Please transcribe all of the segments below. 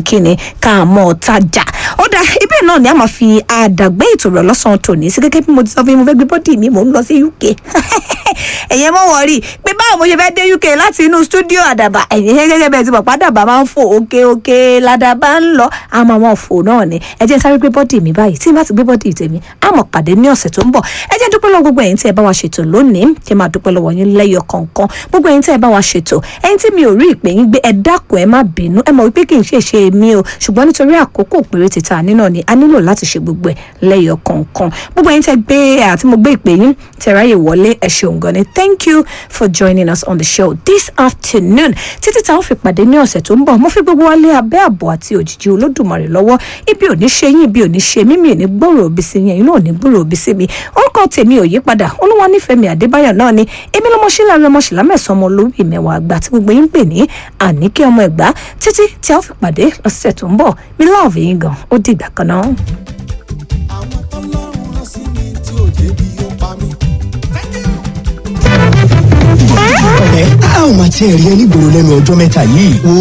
Kíni ká mọ̀ tajà ó dá ibẹ̀ náà ni a máa fi àdàgbé ètò rẹ̀ lọ́sàn-án tòní sí. Gẹ́gẹ́ bí mo ti sọ fún yín, mo fẹ́ gbé body mi, mò ń lọ sí UK. Ẹ̀yẹ́ mọ̀ wọ́n rí pé báwo mo ṣe fẹ́ dé UK láti inú stúdíò Àdàbà. Ẹ̀yìn gẹ́gẹ́ bẹ́ẹ̀ ti mọ̀ pàdàbà máa ń fò òkè òkè ládàbà ń lọ, àmọ́ wọn fò náà ni. Ẹ jẹ́ n sáré gbé body mi báyìí. Tí n bá ti gbé body tèmi, a máa pàdé ní ọ̀sẹ̀ tó ń bọ̀. Ẹ jẹ́ n dúpẹ́ lọ́wọ́ gbogbo ẹ̀yin tí ẹ bá wa ṣètò lónìí, kí ẹ máa dúpẹ́ lọ́wọ́ yín lẹ́yọ kọ̀ọ̀kan, gbogbo ẹ̀yin tí ẹ bá wa ṣètò. Ẹ̀yin tí mi ò rí ìpè yín gbé, ẹ dákun, ẹ má bínú. Ẹ mọ̀ wípé kì í ṣe ṣe mi o, ṣùgbọ́n nítorí àkókò péréte tá a ní náà ni a nílò láti ṣe gbogbo ẹ̀ lẹ́yọ kọ̀ọ̀kan. Gbogbo ẹ̀yin tẹ́ gbé àti mo gbé ìpè yín tẹ́ ráyè wọlé, ẹ ṣeun gan ni. Thank you for joining us on the show this afternoon. Títí tá a ó fi pàdé ní ọ̀sẹ̀ tó ń bọ̀, mo fi gbogbo wa lé abẹ́ ààbò àti òjìji Olódùmarè lọ́wọ́. Ibi ò ní ṣe yín, ibi ò ní ṣe mímì ò ní gbòòrò òbí sí yín, ẹ̀yin náà ò ní gbòòrò òbí sí mi. Orúkọ tèmi ò yí padà, Olúwanífẹ̀mí Adébáyọ̀ náà ni. Èmi lọmọ sílẹ̀ ọmọ sílá mẹ́sàn-án, ọmọ olóbì mẹ́wàá àgbà tí gbogbo yín ń pè ní Àníkẹ́ ọmọ Ẹ̀gbá. Títí tí a ó fi pàdé lọ́sẹ̀ tó ń bọ̀, mi love yín gan. Ó dìgbà kan náà. Àwọn tọ́lọ́run rán sí mi tí ò jẹ́ bí ó pa mí. Ọ̀rẹ́, a ò máa tiẹ̀ rí ẹ nígboro lẹ́nu ọjọ́ mẹ́ta yìí. Wo,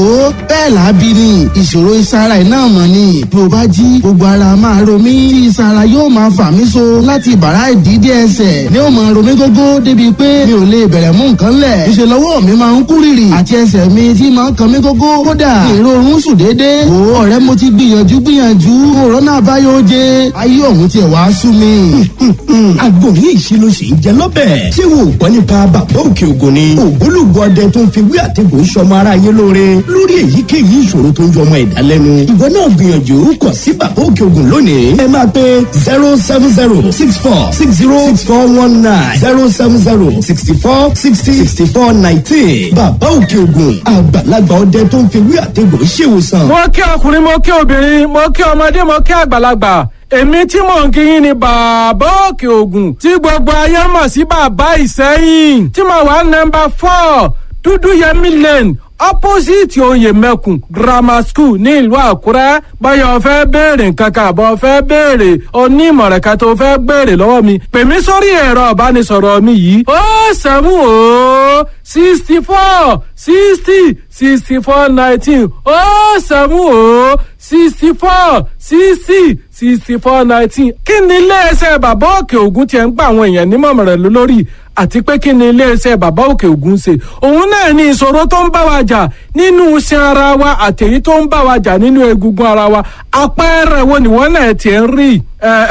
bẹ́ẹ̀ làábí ni. Ìṣòro ìsara iná mọ̀ ni. Bí o bá jí, gbogbo ara máa ro mí tí ìsara yóò máa fà mí so láti ìbàrá ìdídé ẹsẹ̀ ni ó máa ro mí gógó, débi pé mi ò lè bẹ̀rẹ̀ mú nǹkan lẹ̀. Ìṣe lọ́wọ́ mi máa ń kú rìrì àti ẹsẹ̀ mi tí máa ń kan mí gógó. Kódà ìrorun sùn déédéé. Wo ọ̀rẹ́, mo ti gbìyànjú gbìyànjú, òrónà àbáyọ oje ayé òun tiẹ̀ wá sú mi. Àgbo yìí ṣe ló ṣe ń jẹ lọ́bẹ̀. Ṣé wo ò gbọ́ nípa Bàbá Òkè Ògùn ni? Ògbólógbò ọdẹ tó ń fi wí àtẹ̀gùn sọmọ ara yín lóore lórí èyíkéyìí ìṣòro tó ń yọmọ ẹ̀dá lẹ́nu. Ìwọ náà gbìyànjú kàn sí Bàbá Òkè Ògùn lónìí. Ẹ máa pe 07064606419, 07064606419. Bàbá Òkè Ògùn, àgbàlagbà ọdẹ tó ń fi wí àtẹ̀gùn ṣèwòsàn. Mo kí ọkùnrin, mo kí obìnrin, mo kí ọmọdé, mo kí àgbàlagbà. Èmi tí mò ń kíyìn ni Bàbá Òkè Ògùn, tí gbogbo ayé mọ̀ sí Bàbá Ìsẹ́yìn, tí mo wà nọ́mbà 4 Dúdú Yẹmí Lane, opposite Oyè Mẹ́kùn Grammar School ní ìlú Àkúrẹ́. Báyọ̀ fẹ́ béèrè nǹkan kan àbọ̀ fẹ́ béèrè onímọ̀ràn kan tó fẹ́ béèrè lọ́wọ́ mi, pè mí sórí ẹ̀rọ ìbánisọ̀rọ̀ mi yìí: 070 64 60 64 19, 070 64 60 64 19. Kí ni iléeṣẹ́ Bàbá Òkè Ògùn tiẹ̀ ń gba àwọn èèyàn nímọ̀ràn lórí, àti pé kí ni iléeṣẹ́ Bàbá Òkè Ògùn ṣe? Òun náà ní ìṣòro tó ń bá wa jà nínú iṣan ara wa àtèyí tó ń bá wa jà nínú egungun ara wa. Àpẹẹrẹ wo nìwọ́n náà tiẹ̀ ń rí?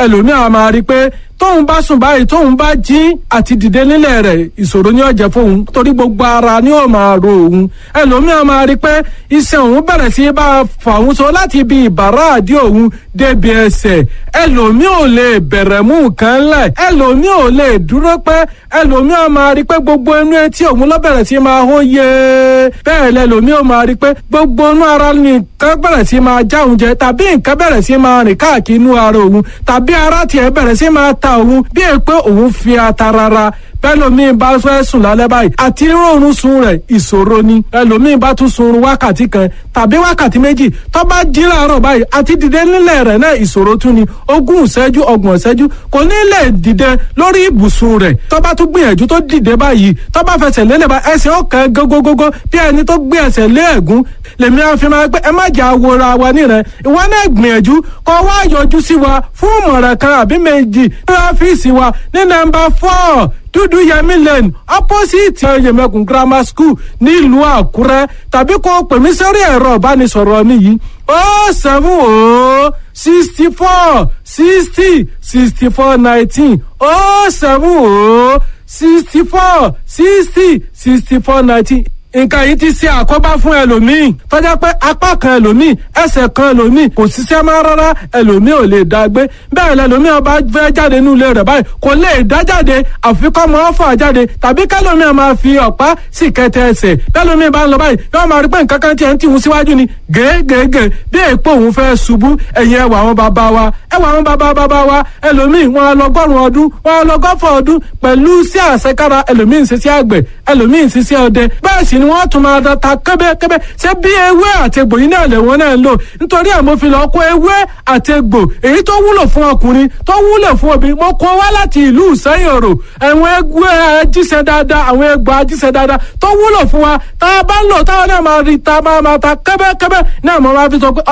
Ẹlòmíràn máa rí i pé tóun bá sùn báyìí, tóun bá jí, àti dìde nílẹ̀ rẹ̀, ìṣòro ni ó jẹ́ fóun, torí gbogbo ara ni ó máa ro òun. Ẹlòmíràn máa rí i pé iṣan òun bẹ̀rẹ̀ sí bá a fà òun so láti ibi ìbàrá àdí òun débi ẹsẹ̀. Ẹlòmíì ò lè bẹ̀rẹ̀ mú nǹkan lẹ̀, ẹlòmíì ò lè dúró pẹ́. Ẹlòmíì máa rí i pé gbogbo inú etí òun ló bẹ̀rẹ̀ sí máa hó yé. Bẹ́ẹ̀ lẹlòmíì ò máa rí i pé gbogbo inú ara nìkan bẹ̀rẹ̀ sí máa já òun jẹ, tàbí nǹkan bẹ̀rẹ̀ sí máa rìn káàkiri inú ara òun, tàbí ara tiẹ̀ bẹ̀rẹ̀ sí máa ta òun bí è pé òun fi ata rárá. Bẹ́lòmíì bá fẹ́ sùn lálẹ́ báyìí, àti rọrùn sun rẹ̀, ìṣòro ni. Ẹlòmíì bá tún sun wákàtí kan tàbí wákàtí 2, tó bá jí láàárọ̀ báyìí, àti dìde nílẹ̀ rẹ̀ náà, ìṣòro tún ni. 20 ìṣẹ́jú, 30 ìṣẹ́jú, kò ní lè dìde lórí ibùsùn rẹ̀. Tó bá tún gbìyànjú tó dìde báyìí, tó bá fẹsẹ̀ lélẹ̀ bá, ẹsẹ̀ ọ̀kan gógógógó, bí ẹni tó gbé ẹsẹ̀ lé ẹ̀gún. Lèmi á fi máa pé ẹ má jà wora wa nírẹ̀. Ìwọ náà gbìyànjú kó wá yọjú sí wa fún ìmọ̀ràn kan àbí méjì ní ọ́fíìsì wa ní nọ́mbà 4 Dúdú Yẹmí Lane, opposite Oyèmẹkùn Grammar School nílùú Àkúrẹ́, tàbí kó pè mí sórí ẹ̀rọ ìbánisọ̀rọ̀ mi yìí: 070 64 60 64 19, 070 64 60 64 19. Nǹkan yìí ti ṣe àkóbá fún ẹlòmíì tọ́já pé apá kan ẹlòmíì, ẹsẹ̀ kan ẹlòmíì kò ṣiṣẹ́ mọ́ rárá. Ẹlòmíì ò lè dá gbé bẹ́ẹ̀. Lẹlòmíì ọba fẹ́ jáde nínú ilé rẹ̀ báyìí, kò lè dá jáde, àfi kọ́ mọ́ ọ́fà jáde, tàbí kẹlòmíì máa fi ọ̀pá sì kẹtẹ ẹsẹ̀. Bẹ́lòmíì bá ń lọ báyìí, yóò máa rí pé nǹkan kan tiẹ̀ ń tìhun síwájú ni gègègè, bí èèpo òun fẹ́ ṣubú. Ẹ̀yìn ẹwà àwọn bàbá wa, ẹwà àwọn bàbá bàbá wa, ẹlòmíì wọn lọgọ́rùn ọdún, wọn lọgọ́fọ̀ ọdún pẹ̀lú sí àṣekára. Ẹlòmíì ń ṣiṣẹ́ àgbẹ̀, ẹlòmíì ń ṣiṣẹ́ ọdẹ, bẹ́ẹ̀ sì. ni wọ́n tún máa da ta kẹ́bẹ́kẹ́bẹ́. Ṣé bí ewé àtegbò yìí náà lẹ̀wọ́n náà ń lò? Nítorí ẹ̀ mo fi lọ kó ewé àtegbò èyí tó wúlò fún ọkùnrin, tó wúlò fún obìnrin, mo kó wá láti ìlú Ìsẹ́yìn Òrò. Àwọn egbò ajíṣẹ́ dáadáa, àwọn egbò ajíṣẹ́ dáadáa tó wúlò fún wa, tá a bá ń lò táwọn náà máa rí ta máa máa ta kẹ́bẹ́kẹ́bẹ́ náà mo máa fi sọ pé.